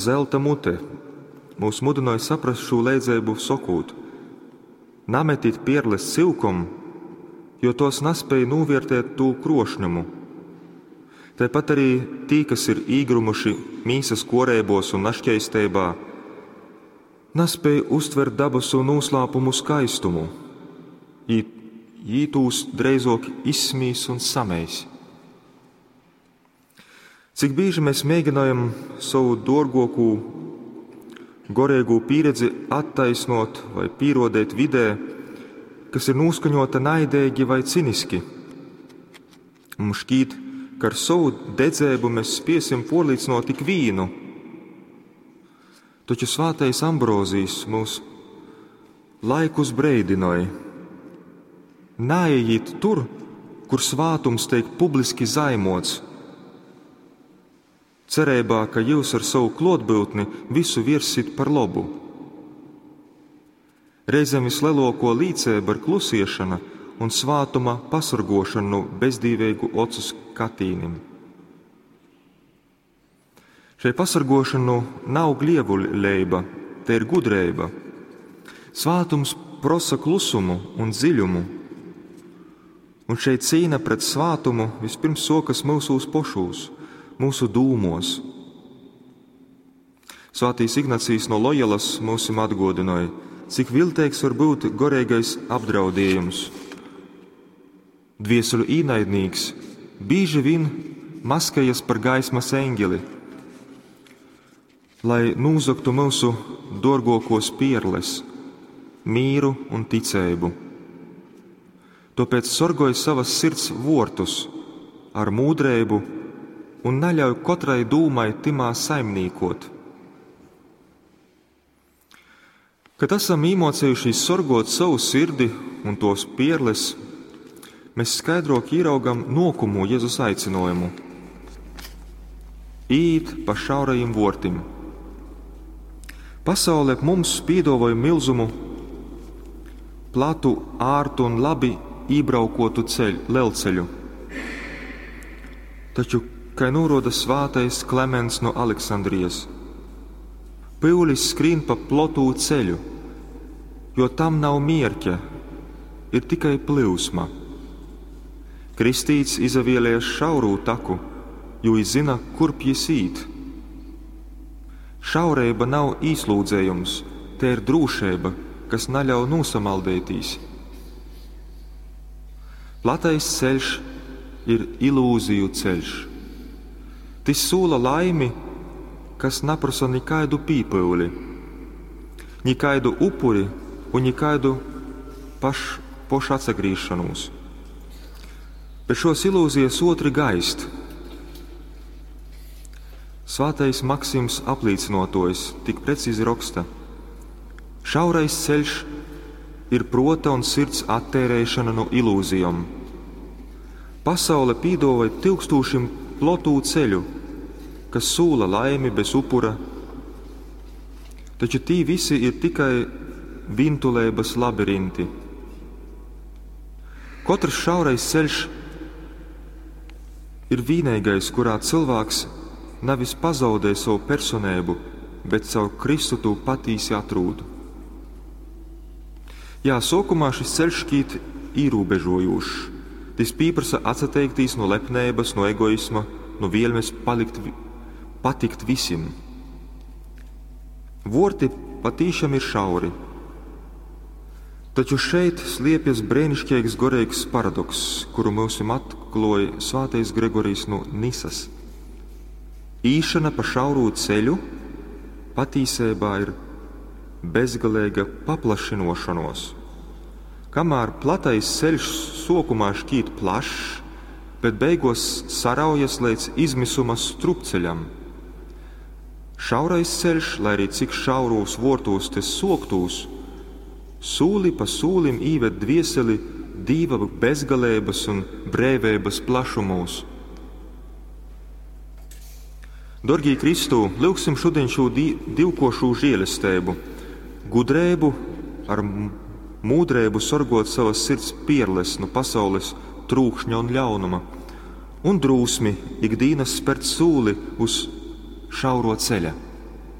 Zelta mute mūs mudynoj saprast šū leidzeibu sokūt: Nametit pierles cyukom, jo tōs naspēj nūviertēt tū krōšņumu. Taipat arī tī, kas ir īgrymuši mīsas kōreibōs un naškeisteibā, naspēj uztvert dabasu nūslāpumu skaistumu. Jī tūs dreizōk izsmīs un sameis. Cik bīži mēs mēģinojam sovu dōrgōkū goreigū pīredzi attaisnot vai pīrōdeit vidē, kas ir nūskaņōta naideigi vai ciniski. Mums šķīt, ka ar sovu dedzeibu mēs spiesim pōrlīcynōt ikvīnu. Taču svātais Ambrozijs mūs laikus breidynoj: Naejit tur, kur svātums teik publiski zaimots, cereibā, ka jyus ar sovu klōtbyutni visu viersit par lobu. Reizem visleluokuo līceiba ir klusiešona un svātuma pasorguošona nu bezdīveigu ocu skatīnim. Šei pasorguošona nu nav glievuleiba, te ir gudreiba. Svātums prosa klusumu un dziļumu, un šei cīna pret svātumu vispirms sokas myusūs pošūs, mūsu dūmos. Svētīs Ignācijs no Lojolas mūsim atgodinoj, cik vilteigs var būt goreigais apdraudējums. Dvieseļu īnaidnīks bīži vien maskējas par gaismas eņģeli, lai nūzogtu mūsu dōrgōkos pierles, mīru un ticeibu. Tōpēc sorgoj savas sirds vortus ar mūdreibu un naļauj kotrai dūmai tymā saimnīkot. Kad esam īmocējušies sorgot savu sirdi un tos pierles, mēs skaidrok ieraugam nokumu Jēzus aicinājumu: Īt pa šaurajim vortim. Pasaule mums pīdāvāja milzumu, platu, ārtu un labi ībraukotu ceļu, lelceļu. Taču, kā norāda svātais Klements no Aleksandrijas, pyulis skrīn pa plotū ceļu, jo tam nav mierķa, ir tikai plūsma. Kristīts izavielies šaurū taku, jo viņš zina, kurp jis īt. Šaureiba nav īslūdzējums, te ir drūšeiba, kas naļauj nūsamaldētīs. Platais ceļš ir ilūziju ceļš. Tis sūla laimi, kas naprasa nekaidu pīpyuli, nekaidu upuri un nekaidu pošu atsagrīšanos. Bet šos ilūzijas otri gaist. Svātais Maksims aplīcinotojs tik precīzi raksta: Šaurais ceļš ir prota un sirds attērēšana no ilūzijām. Pasaule pīdāvāja tūkstošiem plotū ceļu, kas sūla laimi bez upura, taču tī visi ir tikai vintuleibas labirinti. Katrs šaurais ceļš ir vienīgais, kurā cilvēks nevis pazaudē savu personību, bet caur Kristu to patīsi atrūd. Jā, sākumā šis ceļš šķiet ierobežojošs. Tas pieprasa atsateikties no lepnības, no egoisma, no vēlmes palikt, patikt visiem. Vorti patīšām ir šauri. Taču šeit sliepjas brēnišķīgs gorīgs paradokss, kuru mūsim atklāja svētais Gregorijs no Nisas. Īšana pa šaurū ceļu patīsībā ir bezgalīga paplašinošanos. Kamēr platais ceļš sokumā šķiet plašs, bet beigos saraujas līdz izmisuma strupceļam. Šaurais ceļš, lai arī cik šaurūs vortūs te soktūs, sūli pa sūlim īved dvieseli dīva bezgalības un brēvības plašumos. Dorgī Kristū, lūgsim šodien šo divkošū žēlestību, gudrību ar mūdrību sorgot savas sirds pierles no pasaules trūkšņa un ļaunuma, un drūsmi ikdienas spērt sūli uz šauro ceļa.